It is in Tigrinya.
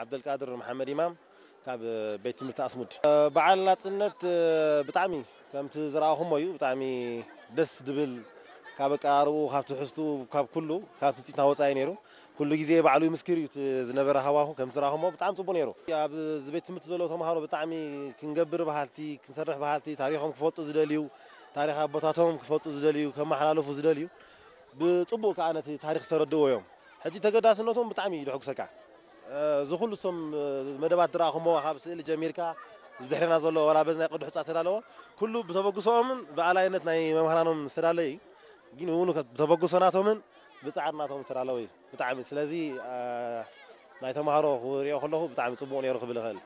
ዓብደልቃድር መሓመድ ኢማም ካብ ቤት ትምህርቲ ኣስሙድ። በዓል ናጽነት ብጣዕሚ ከምቲ ዝረኣኹሞ እዩ። ብጣዕሚ ደስ ዝብል፣ ካብ ኣቀራርብኡ፣ ካብ ትሕዝትኡ፣ ካብ ኩሉ፣ ካብ ትጽቢትና ወጻኢ ነይሩ። ኩሉ ግዜ ባዕሉ ይምስክር እዩ እቲ ዝነበረ ሃዋሁ። ከምቲ ዝረኣኹሞ ብጣዕሚ ጽቡቕ ነይሩ። ኣብዚ ቤት ትምህርቲ ዘለዉ ተምሃሮ ብጣዕሚ ክንገብር በሃልቲ፣ ክንሰርሕ በሃልቲ፣ ታሪኾም ክፈልጡ ዝደልዩ፣ ታሪኽ ኣቦታቶም ክፈልጡ ዝደልዩ፣ ከመሓላልፉ ዝደልዩ፣ ብጽቡቕ ከኣ ነቲ ታሪኽ ዝተረድእዎ እዮም። ሕጂ ተገዳስነቶም ብጣዕሚ እዩ ዘሐጉሰካ። እዚ ኩሉ እቶም መደባት ዝረኣኹሞ፣ ካብ ስእሊ ጀሚርካ፣ ብድሕሬና ዘሎ ዋላ በዚ ናይ ቅዱሕ ጻ ዝተዳለወ፣ ኩሉ ብተበግሶኦምን ብኣላይነት ናይ መምህራኖም ዝተዳለየ እዩ። ግን እውን ብተበግሶ ናቶምን ብጻዕሪ ናቶም ዝተዳለወ እዩ ብጣዕሚ። ስለዚ ናይ ተምሃሮ ክሪኦ ከለኹ ብጣዕሚ ጽቡቕ ነይሩ ክብል እኽእል።